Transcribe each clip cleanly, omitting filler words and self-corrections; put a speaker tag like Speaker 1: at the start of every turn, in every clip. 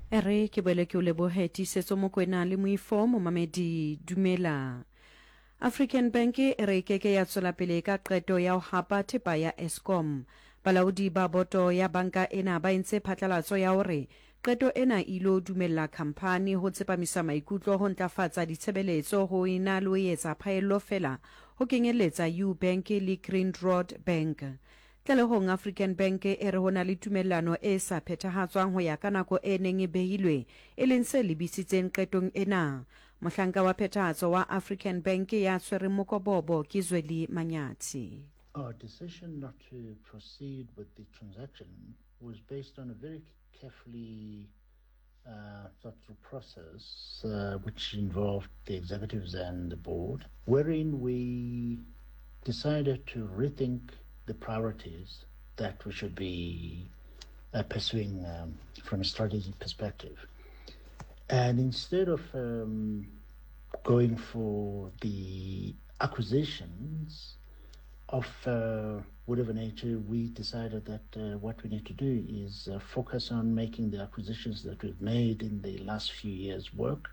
Speaker 1: E re ke boele ke o lebohe Tiisetso Mokwena le Moifo momamedi dumela. African Bank e re e keke ya tswela pele ka qeto ya ho hapa thepa ya Eskom. Balaodi ba boto ya banka ena ba entse phatlalatso ya hore qeto ena e ilo dumella khamphani ho tsepamisa maikutlo ho ntlafatsa ditshebeletso ho e na le ho etsa phaello feela ho kenyelletsa Ubank le Grindrod Bank. Tlalehong, African Bank e re ho na le tumellano e sa phethahatswang ho ya ka nako e neng e behilwe, e leng se lebisitseng qetong ena. Mohlanka wa phethahatso wa African Bank ya tshwereng mokobobo ke Zweli Manyathi.
Speaker 2: Our decision not to proceed with the transaction was based on a very carefully uh, thought through process, uh, which involved the executives and the board, wherein we decided to rethink the priorities that we should be uh, pursuing um, from a strategic perspective. And instead of um, going for the acquisitions of uh, whatever nature, we decided that uh, what we need to do is uh, focus on making the acquisitions that we've made in the last few years work.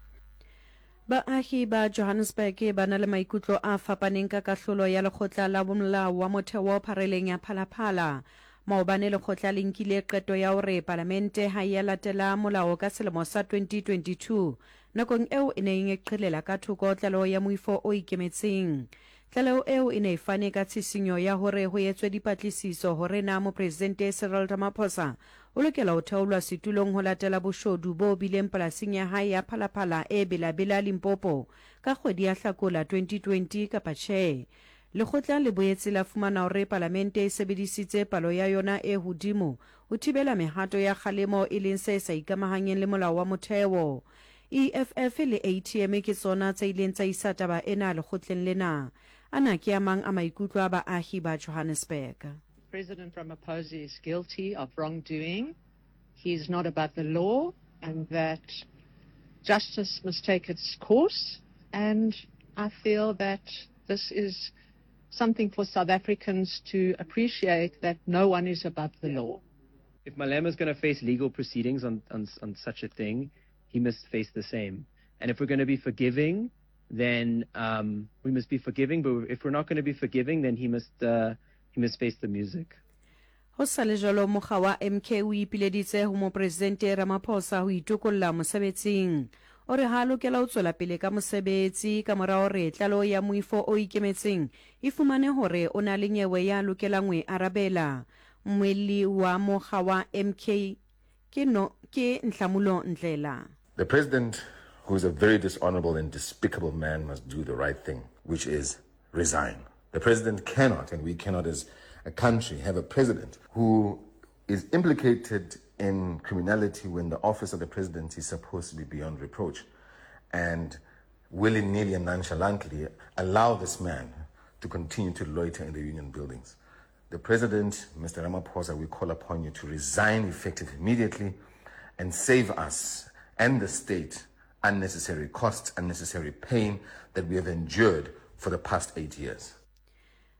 Speaker 1: Baahi ba Johannesburg ba na le maikutlo a fapaneng ka kahlolo ya lekgotla la bomolao wa motheo phareleng ya Phalaphala. Maobane lekgotla le nkile qeto ya hore palamente ha e ya latela molao ka selemo sa 2022 nakong eo e neng e qhelela ka thoko tlaleho ya moifo o ikemetseng. Tlaleho eo e ne e fane ka tshisinyo ya hore ho etswe dipatlisiso hore na Mopresidente Cyril Ramaphosa o lokela ho theolwa setulong ho latela boshodu bo bileng polasing ya hae ya Phalaphala e Bela-Bela, Limpopo ka kgwedi ya Hlakola 2020 kapa tjhe. Lekgotla le boetse la fumana hore Palamente e sebedisitse palo ya yona e hodimo ho thibela mehato ya kgalemo e leng se sa ikamahanyeng le molao wa motheo. EFF le ATM ke tsona tse ileng tsa isa taba ena lekgotleng lena. Ana ke a mang a maikutlo a baahi ba Johannesburg.
Speaker 3: President Ramaphosa is guilty of wrongdoing, he is not above the law and that justice must take its course and I feel that this is something for South Africans to appreciate that no one is above the law.
Speaker 4: If Malema is going to face legal proceedings on, on, on such a thing, he must face the same. And if we're going to be forgiving, then um, we must be forgiving. But if we're not going to be forgiving, then he must, uh, he must face the music.
Speaker 1: Ho sa le jwalo, mokga wa MK o ipileditse ho Mopresidente Ramaphosa ho itokolla mosebetsing. O re ha a lokela ho tswela pele ka mosebetsi ka mora hore tlaleho ya moifo o ikemetseng e fumane hore o na le nyewe ya lokelang ho e arabela. Mmuelli wa mokga wa MK ke no ke Nhlamulo Ndhlela.
Speaker 5: The president, who is a very dishonorable and despicable man, must do the right thing, which is resign. The president cannot, and we cannot as a country, have a president who is implicated in criminality when the office of the presidency is supposed to be beyond reproach, and willy-nilly and nonchalantly allow this man to continue to loiter in the union buildings. The president, Mr. Ramaphosa, we call upon you to resign effective immediately and save us and the state unnecessary costs, unnecessary pain that we have endured for the past eight years.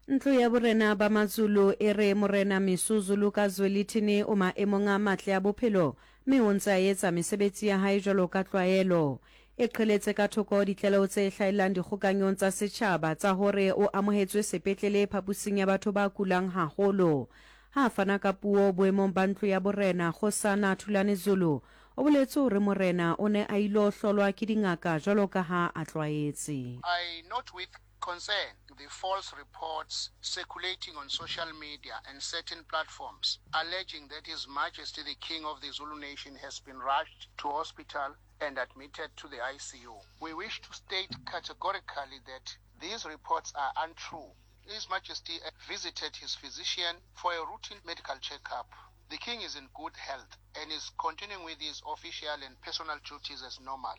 Speaker 1: Ntlo ya borena ba Mazulu e re Morena Misuzulu ka Zwelithini o maemong a matle a bophelo mme o ntse a etsa mesebetsi ya hae jwalo ka tlwaelo. E qheletse ka thoko ditlaleho tse hlahellang dikgokanyong tsa setjhaba tsa hore o amohetswe sepetlele phapusing ya batho ba kulang haholo. Ha a fana ka puo boemong ba ntlo ya borena, Kgosana Thulani Zulu o boletse hore morena o ne a ilo hlolwa ke dingaka jwalo ka ha a tlwaetse.
Speaker 6: I note with concern the false reports circulating on social media and certain platforms alleging that His Majesty the King of the Zulu Nation has been rushed to hospital and admitted to the ICU. We wish to state categorically that these reports are untrue. His Majesty visited his physician for a routine medical checkup. The King is in good health and is continuing with his official and personal duties as normal.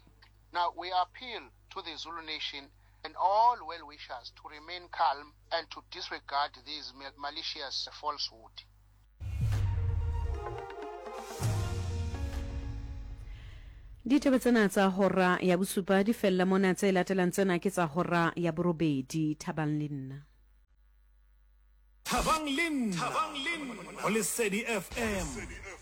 Speaker 6: Now, we appeal to the Zulu Nation and all well-wishers to remain calm and to disregard these malicious falsehood.
Speaker 1: Ditaba tsena tsa hora ya bosupa di fella mona, tse latelang tsena ke tsa hora ya borobedi. Thabang le nna.
Speaker 7: Thabang le nna go Lesedi FM.